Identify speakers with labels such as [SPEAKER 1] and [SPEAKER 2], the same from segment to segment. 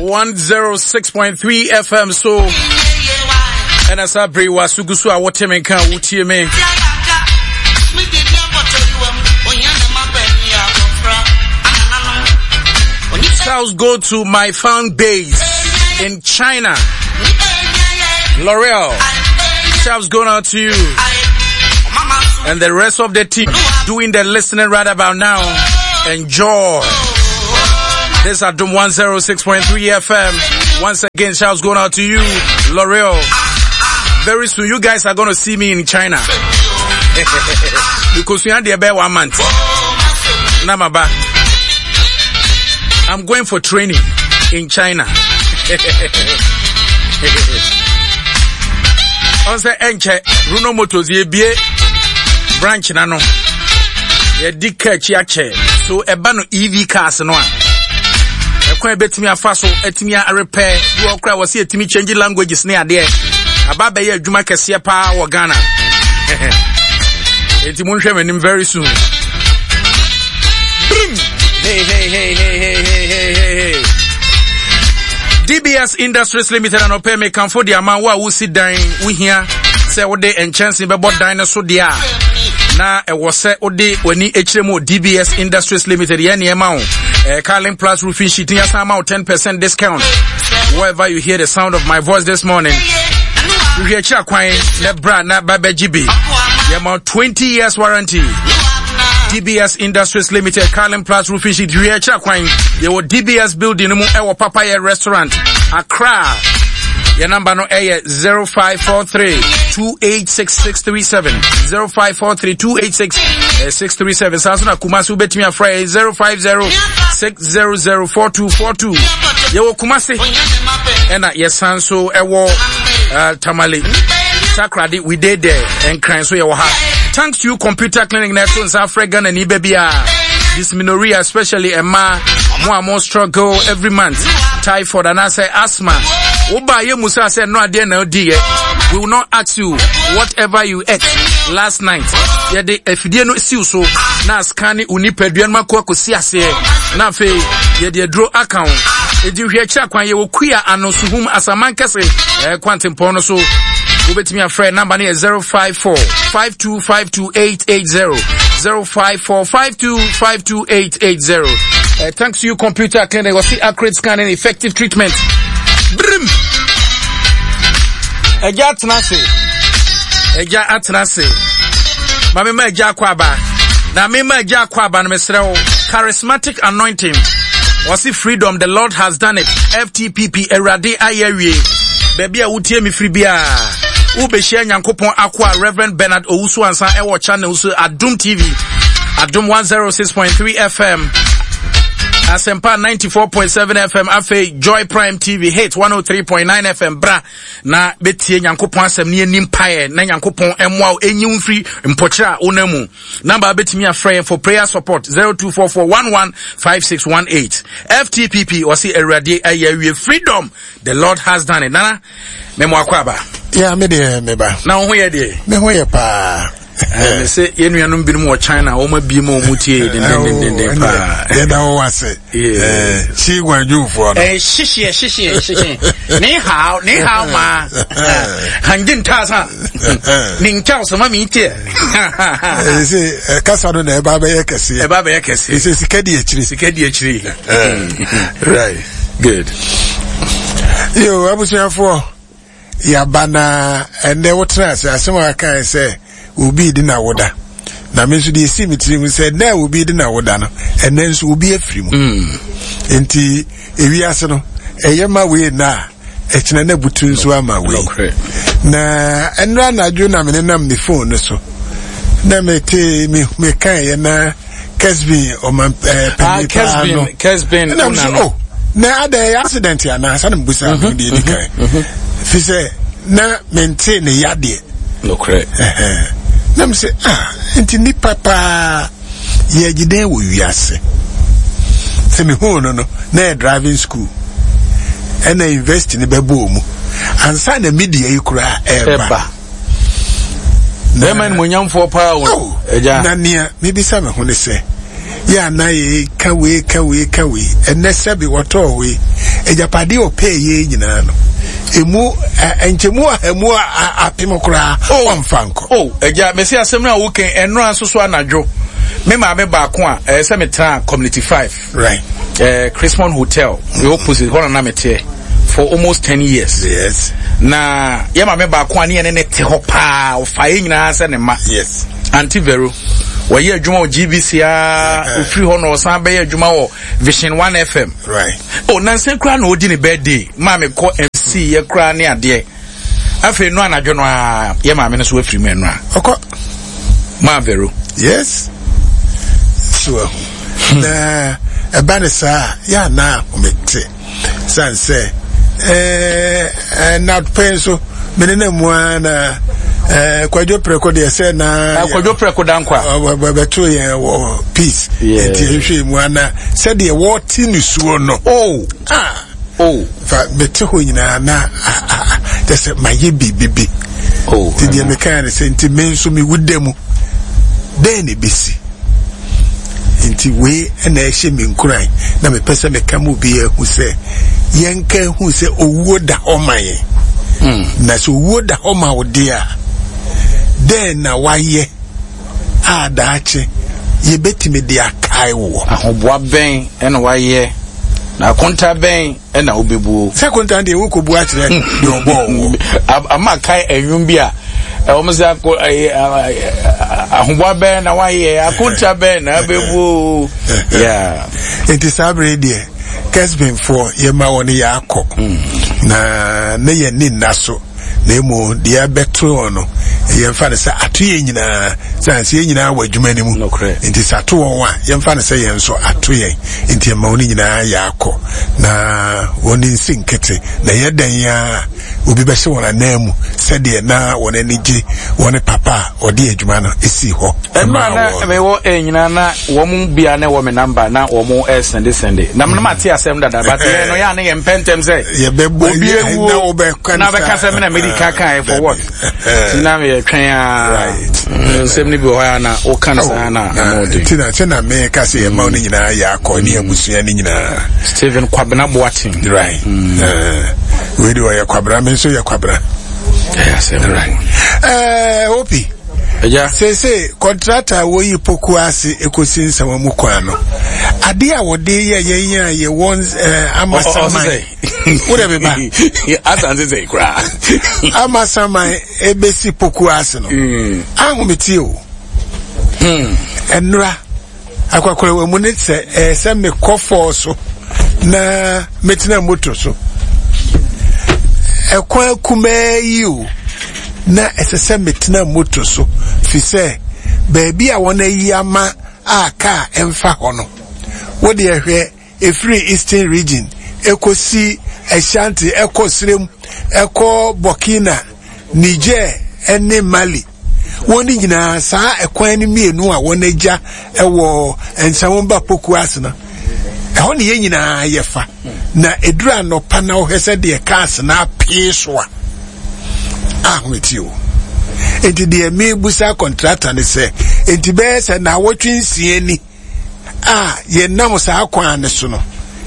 [SPEAKER 1] 106.3 FM so ɛna saa bere wa so gu so a wote me nka wotie me. Shouts go to my fan base in China. L'Oreal. Shouts going out to you. And the rest of the team doing the listening right about now. Enjoy. This is Adum 106.3 FM. Once again, shouts going out to you, L'Oreal. Very soon, you guys are going to see me in China. because we had there one month. Namaba. I'm going for training in China. ɔn sɛ ɛnkyɛ Bruno Motors yɛbie branch na no yɛdi kaa akyi akyɛ so ɛba no EV cars no a ɛkwan ɛbɛtumi afa so atumi arepɛ bi wɔ koraa wɔ sɛ yɛtumi change languages ne adeɛ aba bɛyɛ adwuma kɛseɛ paa wɔ Ghana enti monhwɛ m'anim very soon Brim! Hey, hey, hey, hey, hey, hey, hey, hey, hey. DBS Industries Limited anɔpɛ mekamfo de ama wo a wosi dan wohia sɛ wode nkyɛnse bɛbɔ dan no so deɛ a na ɛwɔ sɛ wode w'ani akyerɛ mu DBS Industries Limited yɛ nneɛma wo eh, Carlin Plus Roofing Sheet yɛsan ama wo 10% discount wherever you hear the sound of my voice this morning hwehwɛ akyiri akwan na bra na ba bɛgye bi yɛma 20 years warranty DBS Industries Limited, Carlin Plus Roofing Sheet, hwehwɛ akyiri akwan yɛwɔ DBS building no mu ɛwɔ Papayɛ Restaurant, Accra. Yɛn namba no ɛyɛ 0543 286637 0543 286 637 saa nso na Kumasi wobɛtumi afrɛ yɛn 050 600 4242 yɛwɔ Kumasi ɛna yɛsan so ɛwɔ uh, Tamale Takoradi we dey there Nkran so yɛwɔ ha thanks to you computer clinic na ɛto nsa afrɛ Ghana ni baabi a dysmenorrhea especially ɛma mo a mo struggle every month typhoid anaasɛ asthma woba yɛ mu sɛ sɛ no adeɛ na odiiɛ we will not ask you whatever you ate last night yɛde afidie no siw so na scan ne wo nipadua no akɔ akɔsi aseɛ na afei yɛde aduro aka ho ɛdi hwɛ akyiri akwan yɛwɔ kua ano suhum asaman kɛse ɛɛ kwantempɔn no so wobɛtumi afrɛ namba no yɛ 054 5252880 054 5252880 uh, thanks to you computer clinic ɔse accurate scanning effective treatment brim ɛgya atena ase ɛgya atena ase ma mema agya akɔ aba na mema agya akɔ aba no mesrɛ wo charismatic anointing wɔse freedom the lord has done it ftpp awurade ayɛ awie baabi a wotie me firi biara wobɛhyia nyankopɔn akoa reverend bernard owusu ansa ɛwɔ channel so adom tv adom 106.3 fm asɛmpa 94.7 fm afei joy prime tv hit 103.9 fm bra na bɛtie nyankopɔn asɛm ne yɛni mpaeɛ na nyankopɔn mmoa wo ɛnyi wo mfiri mpɔkyerɛ a wonam mu namba wobɛtumi afrɛ yɛn for prayer support 0244115618 ftpp ɔse awurade ayɛ awie freedom the lord has done it nana memo akɔ aba
[SPEAKER 2] ya me deɛ meba
[SPEAKER 1] na wo ho yɛ deɛ
[SPEAKER 2] me ho yɛ paa
[SPEAKER 1] me sɛ yɛn nuanom binom wɔ china wɔn abie ma wɔn tie dendendenden paa
[SPEAKER 2] yɛda wo ase si guanjufoɔ no
[SPEAKER 1] hyehyeɛ hyehyeɛ hyehyeɛ ne hao ne hao ma hangye ntaasa ne nkyɛw so ma mi tie
[SPEAKER 2] sɛ kasa no na ɛba bɛyɛ kɛseɛ
[SPEAKER 1] ɛba bɛyɛ kɛseɛ
[SPEAKER 2] sɛ sika di akyiri
[SPEAKER 1] sika di akyiri
[SPEAKER 2] right
[SPEAKER 1] good
[SPEAKER 2] yo abusuafoɔ Yɛaba na ɛnnɛ wotena ase, asɛm a wakae sɛ obi redi n'awoda. Na me nso deɛ ɛsii me tirim sɛ ɛnnɛ a obi redi n'awoda no, ɛnnɛ nso obi afiri mu. Mm. Nti ewiase no, ɛyɛ ma wei nna a, ɛkyena na butu nso ama wei. Na ɛnnora anadwo na me nenam ne phone no so. Na mete me mekaeɛ na Kesbin ɔman ɛɛ eh, panyin ah, paa no
[SPEAKER 1] Kesbin
[SPEAKER 2] ɛna mo so oh na ada ɛyɛ accident anaa sanni mo bisa mi deɛ edi kan fi sɛ na mente ne yadeɛ
[SPEAKER 1] nokorɛ
[SPEAKER 2] na mo sɛ ah nti nipa paa yɛ gyidɛn wɔ wiase sɛ mi hu no no na yɛ driving school ɛna university ni bɛ bɔ mu ansa na media yi koraa ɛɛba.
[SPEAKER 1] Bɛrima animuonyamfoɔ paa o, agya.
[SPEAKER 2] Na nea mebisa me ho ne sɛ, yɛ a na yɛka wei ka wei ka wei, ɛnnɛ sɛbe wɔtɔɔ wei, Agyapadeɛ ɔpɛɛ yɛ nyinaa no, emu nkyɛmu ahamu apem koraa oh. ɔmfa nkɔ.
[SPEAKER 1] Oh, agya, mesi asɛm no a wokan ɛnora nso so anadwo. Me maame baako a ɛyɛ sɛ metena Community 5.
[SPEAKER 2] Right.
[SPEAKER 1] Chrismon Hotel, the opposite, hɔ na na meteɛ for almost 10 years.
[SPEAKER 2] Yes.
[SPEAKER 1] Na yɛ maame baako a ne yɛne ne te hɔ paa, ɔfa yɛ nyinaa sɛ ne mma.
[SPEAKER 2] Yes.
[SPEAKER 1] Auntie Vero, wɔyɛ adwuma wɔ GBC a, ofiri hɔ na ɔsan bɛyɛ adwuma wɔ Vision 1 FM.
[SPEAKER 2] Right.
[SPEAKER 1] Oh, nansa koraa na ɔdi ne birthday, maa mekɔ MC yɛ koraa ne adeɛ. Afei no anadwo no a yɛ maame no so afiri mu ɛno a.
[SPEAKER 2] Ɔkɔ.
[SPEAKER 1] Maa Vero.
[SPEAKER 2] Yes. So ahu. Na ɛba ne saa yɛ anaa ahomete. San sɛ ɛɛ na pɛn nso mene na mu ara na ɛɛ kwadwo prɛko deɛ sɛ na.
[SPEAKER 1] Kwadwo prɛko dankwa.
[SPEAKER 2] Bɛto yɛn wɔ peace. Nti ehwɛ mu ana sɛdeɛ wɔte nisuo no.
[SPEAKER 1] Oh. Ah. Oh.
[SPEAKER 2] Fa mete hɔ nyinaa na kyɛ sɛ mayɛ biribi bi.
[SPEAKER 1] Oh.
[SPEAKER 2] Nti deɛ mekaa ne sɛ nti me nso mewu da mu dɛn na ɛbɛsi nti wei na ɛhyɛ me nkuran na mepɛ sɛ meka mu bi ahu sɛ yɛnka hu sɛ owuo da hɔ ma yɛn hmm. na sɛ owuo da hɔ ma wo deɛ a dɛn na wayɛ a daakye yɛbɛtumi de akae woɔ.
[SPEAKER 1] Ahoboa bɛn na woayɛ, na akonta bɛn na wobɛbuo?
[SPEAKER 2] Sɛ akonta deɛ wokɔbu akyerɛ deɛ ɔbɔɔ
[SPEAKER 1] woɔ. Ama kae ɛnwom bi a wɔn sɛ ako ahoboa bɛn na woayɛ, akonta bɛn na wobɛbuo. Yeah.
[SPEAKER 2] Nti saa bere deɛ Kesbinfoɔ yɛma wɔn yɛ akɔ hmm. na ne yɛn ni nna so. na mmom deɛ ɛbɛto wɔn no yɛmfa no sɛ ato yɛn nyinaa sɛ sɛ yɛn nyinaa wɔ adwuma no mu nti sɛ ato wɔn a yɛmfa no sɛ yɛn nso ato yɛn nti ɛma wɔn nyinaa yɛ akɔ na wɔn nsi nkete na yɛ dɛn a obi bɛhyɛ wɔn anan mu sɛdeɛ na wɔn ani gye wɔn papa a ɔde adwuma no si hɔ.
[SPEAKER 1] Ɛmmerɛ na mewɔ nyinaa na wɔn mu bia na ɛwɔ me namba na wɔn ɛsɛnde sɛnde na mo ate asɛm dada but yɛn no yɛ a ne yɛn mpɛntɛm sɛ obi ewuo na bɛka sɛ mena medi ka kan for what nti na meyɛ twɛn a nsɛm no bi wɔ hɔ a na woka no saa na ɛma ɔde
[SPEAKER 2] nti na sɛ na meka sɛ yɛma wo no nyinaa yɛ akɔ ne abusua no nyinaa
[SPEAKER 1] Stephen Kwabena Boateng
[SPEAKER 2] right wei de ɔyɛ Kwabena me nso yɛ Kwabena right opi
[SPEAKER 1] Agya.
[SPEAKER 2] Seesei kɔntrata a woyi poku ase ekosi nsɛm mu kwan no, ade a wɔde yɛ yɛn a yɛwɔ eh, amasaman. Wo dɛ beba.
[SPEAKER 1] Asante sɛ koraa.
[SPEAKER 2] Amasaman ebesi poku ase no. Mm. Ahometie o. Hmm. Ɛnora. Akwakorawa mu ne sɛ ɛyɛ sɛ mekɔ fɔɔ so na metena moto so. Ɛkwan kumaa yi o, na ɛsɛ sɛ metena moto so fi sɛ baabi a wɔn ayi ama a kaa ɛmfa hɔ no. Wo deɛ hwɛ ɛfiri Eastern Region ɛkɔsi Ashanti ɛkɔ Sirem ɛkɔ Burkina, Niger ɛne Mali. Wɔn nyinaa saa ɛkwan no mmienu a wɔn agya wɔ Nsawam Poku ase no, ɛhɔ ne yɛn nyinaa yɛfa. Na ɛduru anɔpa na wohwɛ sɛ deɛ cars no apee so a, ahomete o. Enti deɛ mebusa kɔntrata ne sɛ, enti bɛyɛ sɛ naawɔtwe nsia ni a yɛnam saa kwan no so no,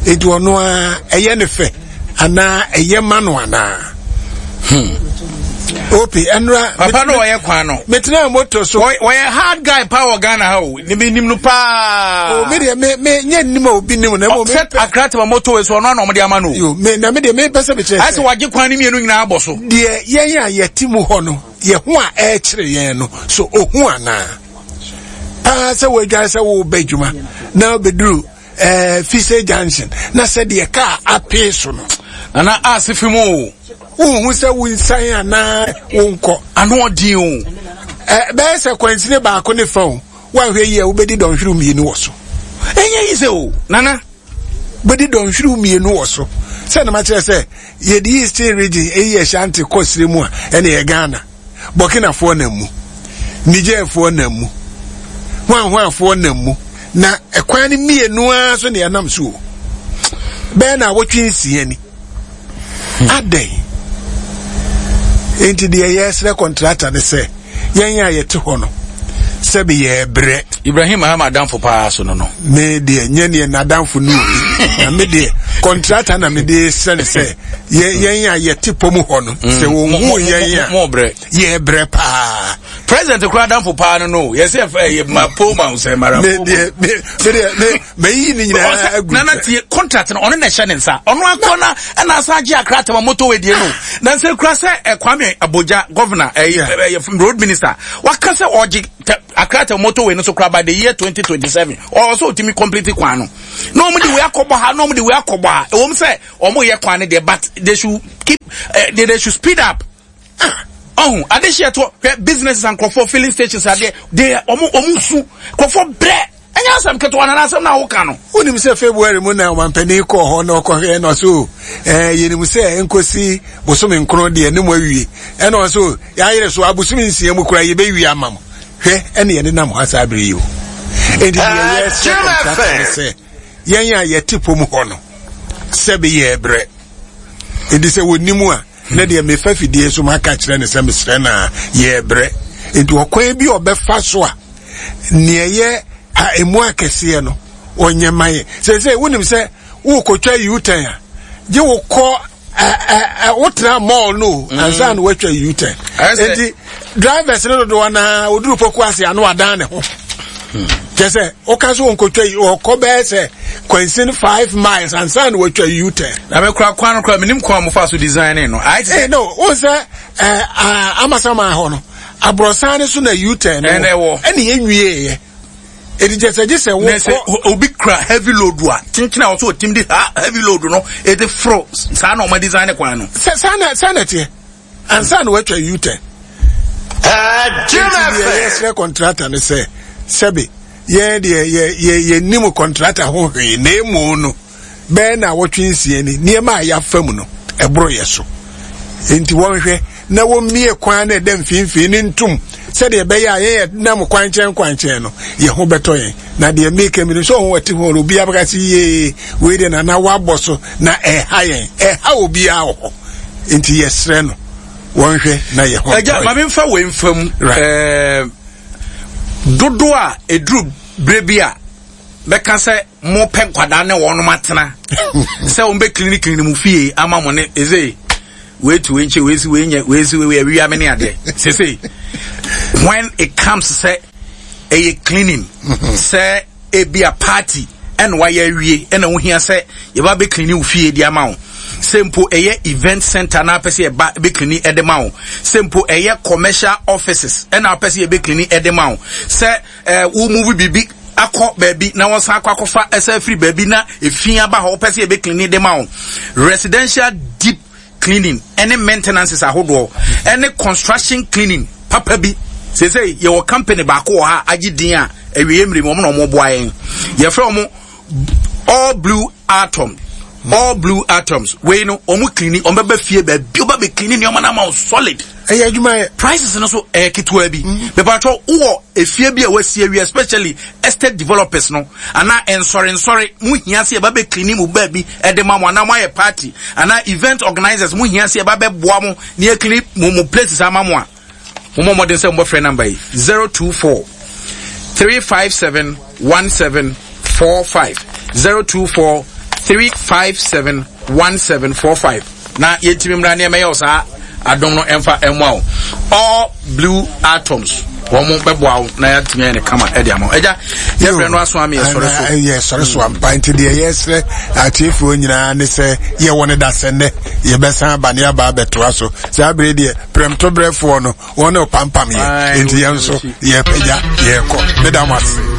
[SPEAKER 2] enti ɔno ara ɛyɛ ne fɛ anaa ɛyɛ ma no anaa? Hmm. Opi, ɛnora.
[SPEAKER 1] Papa no ɔyɛ kwan no.
[SPEAKER 2] Metena moto so.
[SPEAKER 1] Wɔyɛ hard guy paa wɔ Ghana ha o. Ne mi nim no paa.
[SPEAKER 2] O mi deɛ me me nye nim a obi nim na mo.
[SPEAKER 1] Sɛ Accra tema moto so ɔno ana ɔmo de ama no.
[SPEAKER 2] Yo me na me deɛ me pɛ sɛ me kyerɛ.
[SPEAKER 1] Ayɛ sɛ wagye kwan no mmienu nyinaa abɔ so.
[SPEAKER 2] Deɛ yɛn a yɛte mu hɔ no yɛ ho a ɛrekyerɛ yɛn no so ohu anaa. Paa sɛ wɔadware sɛ wɔreba adwuma na bɛduru ɛɛ eh, Fise junction na sɛdeɛ kaa apee so no.
[SPEAKER 1] Nana ase fi mu o.
[SPEAKER 2] Wohu sɛ wonsan anaa wonkɔ.
[SPEAKER 1] Ano ɔden o.
[SPEAKER 2] Ɛ bɛyɛ sɛ kwansini baako ne fa o. Woanhwɛ yie a wobɛdi dɔnhwerew mmienu wɔ so.
[SPEAKER 1] Ɛnyɛ yi sɛ o nana.
[SPEAKER 2] Bɛdi dɔnhwerew mmienu wɔ so. Sɛ na makyerɛ sɛ yɛde Eastern region eyi Ashanti kɔ sire mu a ɛne yɛ Ghana. Burkinafoɔ nam mu, Nigerfoɔ nam mu, hwanhwanfoɔ nam mu, na ɛkwan no mmienu ara so na yɛnam so o. Bɛyɛ na awɔtwe nsia ni. Adɛn? Enti deɛ yɛsrɛ kɔntrata ne sɛ yɛn a yɛte hɔ no, Sɛbi yɛrebrɛ.
[SPEAKER 1] Ibrahim Mahama adamfo paa so no no.
[SPEAKER 2] Me deɛ nyɛ neɛ n'adamfo no obi. Na me deɛ kɔntrata na me de srɛ ne sɛ yɛn a yɛte pɔ mu hɔ no mm. sɛ wɔn hu yɛn a yɛbrɛ paa.
[SPEAKER 1] President kura adamfo paa no no yɛsɛ ɛyɛ ma poma sɛ mara.
[SPEAKER 2] Me deɛ me deɛ me mayi ne nyinaa agu.
[SPEAKER 1] Nana tie contract no ɔno na ɛhyɛ ne nsa ɔno akɔ na ɛna asan agye akra tɛma motorway die no na nsɛ kura sɛ Kwame Abogya governor ɛyɛ ɛyɛ road minister waka sɛ ɔgye akra tɛma motorway no so kura by the year 2027 ɔwɔ sɛ ɔtumi complete kwan no na wɔn de wei akɔbɔ ha na wɔn de wei akɔbɔ ha ɛwɔ mu sɛ wɔn yɛ kwan no deɛ but they should keep uh, they should speed up. Ɔho adehyeɛ toɔ hwɛ businesses and nkurɔfoɔ filling stations adeɛ de ɔmo ɔmo su nkurɔfoɔ brɛ ɛnyɛ asɛm ketewa na asɛm na awoka no.
[SPEAKER 2] Wonim sɛ February mu na ɔmampanin kɔɔ hɔ na ɔkɔhwɛ na ɔsɛ o ɛɛ yɛnim sɛ nkosi bosome nkron deɛ ne mu awie ɛna ɔsɛ o yɛayere so abosome nsia mu koraa yɛbɛwie ama mo hwɛ ɛne yɛde nam hɔ saa bere yi o enti deɛ yɛsrɛ kɔntrata ne sɛ yɛn a yɛte pom hɔ no sɛbe yɛbrɛ enti sɛ wɔnim a Na deɛ mefa fidie so maka kyerɛ no sɛ mesrɛ no a yɛrebrɛ nti ɔkwan bi a ɔbɛfa so a neɛ ɛyɛ a emu akɛseɛ no ɔnyɛ ma yɛ sɛsɛ wonim sɛ wokɔtwa u-turn a gye wokɔ wotena mall no mm. ansa na woatwa u-turn nti drivers no dodoɔ naa oduru poku ase ano adan ne ho hmm. kyɛ sɛ woka so wɔnkɔtwa yi ɔkɔ bɛyɛ sɛ kwansin five miles ansa na watwa u-turn.
[SPEAKER 1] Na me kura kwan no kura menim kwan a wɔfa so design no. Ayɛ te sɛ.
[SPEAKER 2] Eh, no wɔn sɛ ɛɛ eh, amasaman hɔ no aborɔsan no so na u-turn no wɔ ɛna yɛn nwie yɛ edi kyɛ sɛ gye sɛ wokɔ.
[SPEAKER 1] Na sɛ obi kura heavy load a kyenkyen a wɔsɛ otim de ha heavy load no edi foro saa na wɔn design kwan no.
[SPEAKER 2] Sɛ saa na saa na ɛteɛ. ansa na watwa u-turn. Nti deɛ yɛsrɛ kɔntrata no sɛ sɛbe yɛn deɛ yɛ yɛ yɛnim kɔntrata ho hwee na emu no bɛyɛ na awɔtwe nsia ni nneɛma a yɛafa mu no ɛboro yɛ so nti wɔnhwɛ na wɔmmie kwan na ɛda mfimfini ne ntom sɛdeɛ ɛbɛyɛ a yɛyɛ nam kwankyɛn kwankyɛn no yɛn ho bɛtɔ yɛn na deɛ meka mi no sɛ ɔho ɔte ho no obiara bɛka sɛ yee wei deɛ nana wabɔ so na ɛha yɛn ɛha obiara wɔ hɔ nti yɛsrɛ no wɔnhwɛ na yɛ hɔ.
[SPEAKER 1] Ɛgya maame nfa wei nfa mu ɛɛ dodo a eduru bere bi a bɛka sɛ mo pɛ nkwadaa ne wɔn atena sɛ wɔn bɛ kilini kilini mu fie ama mo ne eze wei tu wei nkyɛn wei si wei nyɛ wei si wei awia mi ne adeɛ sese when it comes sɛ ɛyɛ cleaning sɛ. Ebia party na wayɛ awie na wohia sɛ yɛba bɛ clean wo fie de ama wo. Sɛ mpo ɛyɛ event center na apɛ sɛ yɛba bɛ clean de ma wo. Sɛ mpo ɛyɛ commercial offices na apɛ sɛ yɛbɛ clean de ma wo. Sɛ eh, wo move biribi akɔ baabi na wɔsan akɔ akɔfa ɛsɛ afiri baabi na efi aba hɔ wopɛ sɛ yɛbɛ clean de ma wo. Residential deep cleaning ɛne maintenances ahodoɔ ɛne construction cleaning papa bi seesei yɛwɔ company baako wɔ ha agye din a awieɛ mmere mu wɔn na wɔn boa yɛn yɛfrɛ wɔn all blue atom all blue atoms wei no wɔn cleaning wɔn bɛbɛ fie baabi wɔn bɛbɛ cleaning nneɛma no ama wɔn solid
[SPEAKER 2] ɛyɛ adwuma yɛ
[SPEAKER 1] prices no so ɛyɛ ketewa bi mepatwɔ wowɔ efie bi a wasi awie especially estate developers no anaa nsɔre nsɔre mo hia sɛ yɛba bɛ clean mo baabi ɛde ma mo anaa mo ayɛ party anaa event organizers mo hia sɛ yɛba bɛ boa mo na yɛ clean mo mo places ama mo a mo mɔ mmɔden sɛ mo bɛfrɛ number yi 024 357 1745 024 357 1745 na yɛntumi mmra nneɛma yɛ saa adom no ɛmfa ɛmmoa wo all blue atoms wɔn bɛboa wo na yɛatumi ayɛ no kama ɛde ama wo agya yɛbrɛ no aso ame yɛsɔre so
[SPEAKER 2] yɛsɔre so ampa nti deɛ yɛsrɛ atiefoɔ nyinaa ne sɛ yɛwɔ no da sɛ nnɛ yɛbɛsan aba ne aba abɛtoa so saa bere deɛ prɛmtoberɛfoɔ no wɔn ne ɔpampam yɛ nti yɛn nso yɛpagya yɛkɔ meda mo ase.